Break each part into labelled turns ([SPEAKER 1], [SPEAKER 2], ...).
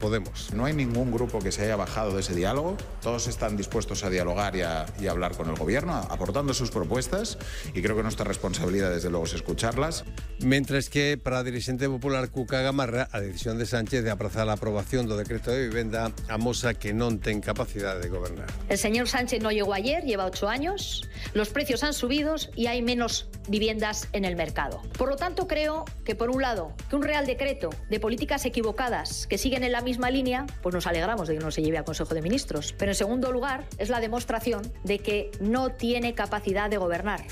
[SPEAKER 1] Podemos.
[SPEAKER 2] No hay ningún grupo que se haya bajado de ese diálogo. Todos están dispuestos a dialogar y a hablar con el gobierno, aportando sus propuestas, y creo que nuestra responsabilidad, desde luego, es escucharlas.
[SPEAKER 1] Mentres que, para a dirixente popular Cuca Gamarra, a decisión de Sánchez de aprazar a aprobación do decreto de vivenda amosa que non ten capacidade de gobernar.
[SPEAKER 3] El señor Sánchez no llegó ayer, lleva 8 años, los precios han subido y hay menos viviendas en el mercado. Por lo tanto, creo que, por un lado, que un real decreto de políticas equivocadas que siguen en la misma línea, pues nos alegramos de que no se lleve al Consejo de Ministros. Pero, en segundo lugar, es la demostración de que no tiene capacidad de gobernar.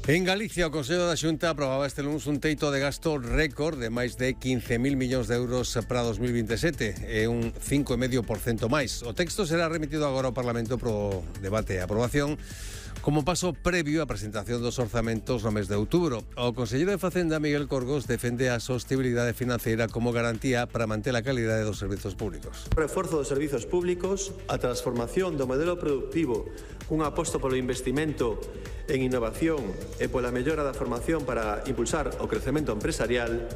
[SPEAKER 1] En Galicia, o Consello da Xunta aprobaba este lunes un teito de gasto récord de máis de 15.000 millóns de euros para 2027, un 5,5% máis. O texto será remitido agora ao Parlamento pro debate e aprobación, como paso previo á presentación dos orzamentos no mes de outubro. O conselleiro de Facenda, Miguel Corgos, defende a sostenibilidade financeira como garantía para manter a calidade dos servizos públicos.
[SPEAKER 4] O reforzo dos servizos públicos, a transformación do modelo productivo, un aposto polo investimento en innovación e pola mellora da formación para impulsar o crecemento empresarial,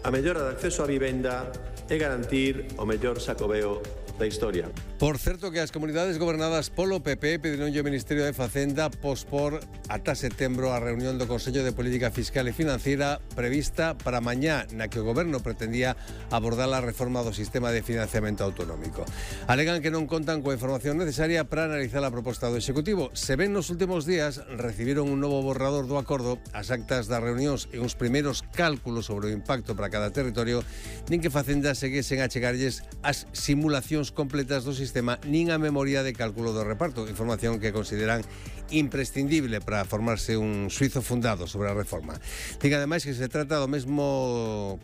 [SPEAKER 4] a mellora do acceso á vivenda e garantir o mellor Xacobeo da historia.
[SPEAKER 1] Por certo, que as comunidades gobernadas polo PP pedironlle ao Ministerio de Facenda pospor ata setembro a reunión do Consello de Política Fiscal e Financiera prevista para mañá, na que o Goberno pretendía abordar a reforma do sistema de financiamento autonómico. Alegan que non contan coa información necesaria para analizar a proposta do Executivo. Se ven nos últimos días, recibiron un novo borrador do acordo, as actas das reunións e uns primeiros cálculos sobre o impacto para cada territorio, nin que Facenda seguesen a chegarlles as simulacións completas do sistema nin a memoria de cálculo do reparto, información que consideran imprescindible para formarse un suizo fundado sobre a reforma. Diga ademais que se trata da mesma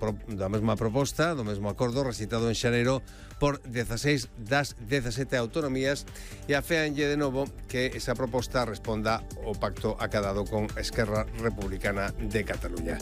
[SPEAKER 1] proposta, do mesmo acordo recitado en xaneiro por 16 das 17 autonomías, e aféanlle de novo que esa proposta responda ao pacto acadado con Esquerra Republicana de Cataluña.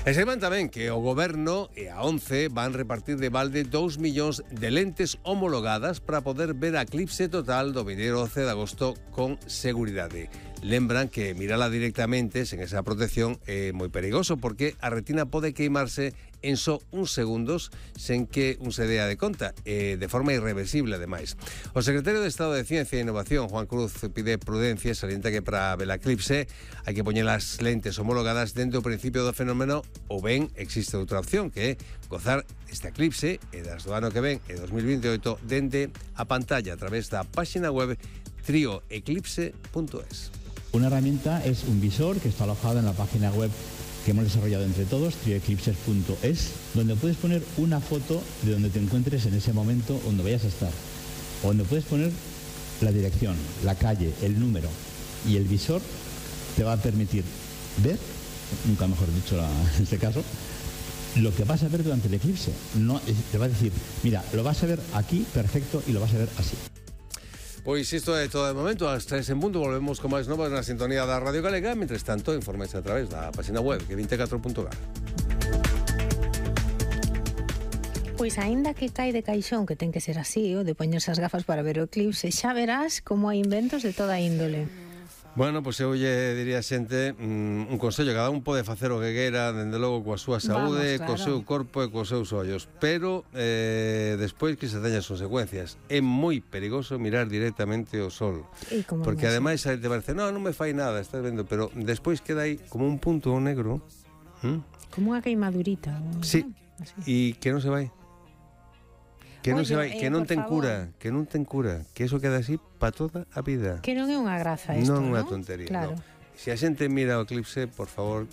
[SPEAKER 1] E saiban tamén que o Goberno e a ONCE van repartir de balde 2 millóns de lentes homologadas para poder ver a eclipse total do 12 de agosto con seguridade. Lembran que mirala directamente sen esa protección é moi perigoso, porque a retina pode queimarse en só uns segundos sen que un se dea de conta, de forma irreversible ademais. O secretario de Estado de Ciencia e Innovación, Juan Cruz, pide prudencia e salienta que para ver a eclipse hai que poñer as lentes homologadas dentro do principio do fenómeno, ou ben existe outra opción, que é gozar este eclipse e das do ano que ven, e 2028, dende a pantalla a través da páxina web trioeclipse.es.
[SPEAKER 5] Una herramienta es un visor que está alojado en la página web que hemos desarrollado entre todos, trioeclipses.es, donde puedes poner una foto de donde te encuentres en ese momento, donde vayas a estar, o donde puedes poner la dirección, la calle, el número, y el visor te va a permitir ver, nunca mejor dicho en este caso, lo que vas a ver durante el eclipse. No, te va a decir, mira, lo vas a ver aquí, perfecto, y lo vas a ver así.
[SPEAKER 1] Pois isto é todo de momento. As 3 en punto volvemos con máis novas na sintonía da Radio Galega. Mentres tanto, informes a través da página web que 24.gal.
[SPEAKER 6] Pois aínda que cae de caixón, que ten que ser así, o de poñerse as gafas para ver o eclipse, xa verás como hai inventos de toda índole.
[SPEAKER 1] Bueno, pois eu lle diría a xente un consello, cada un pode facer o que queira, dende logo coa súa saúde, co seu corpo e cos seus ollos, pero despois que se teña as consecuencias. É moi perigoso mirar directamente o sol, porque ademais te parece, non me fai nada, estás vendo, pero despois queda aí como un punto negro,
[SPEAKER 6] como unha queimadurita.
[SPEAKER 1] Sí, e que non se vai. Que non se vai, que non ten cura, que eso queda así para toda a vida.
[SPEAKER 6] Que non é unha graza isto,
[SPEAKER 1] non é unha tontería, claro. No. Se a xente mira o eclipse, por favor,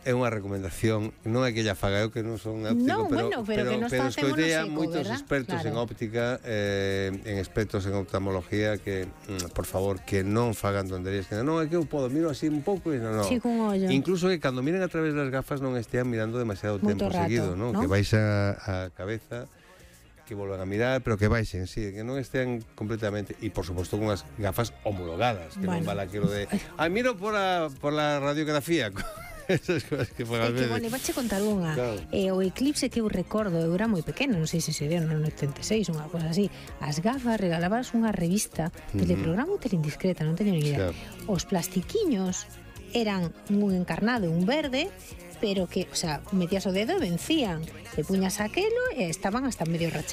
[SPEAKER 1] é unha recomendación, non é que lla faga eu que non son óptico, pero escoitei a moitos expertos en óptica, en expertos en oftalmología, que, por favor, que non fagan tonterías, que non é que eu podo, miro así un pouco e non.
[SPEAKER 6] Sí, cun ollo.
[SPEAKER 1] Incluso que cando miren a través das gafas non estean mirando demasiado tempo seguido, ¿no? Que baixa a cabeza, que volvan a mirar, pero que baixen, sí, que non estén completamente, e por suposto con as gafas homologadas, que non vale aquilo de miro por la radiografía. Esas cosas que
[SPEAKER 6] foran veces. Bueno, iba a contar unha. Claro. O eclipse que eu recordo, eu era moi pequeno, non sei se sería no 86, unha cosa así. As gafas regalabas unha revista, Teleprograma ou Teleindiscreta, non teño ni idea. Claro. Os plastiquiños eran un encarnado e un verde, pero que, o sea, metías o dedo e vencían. Te puñas aquelo e estaban hasta medio rachados.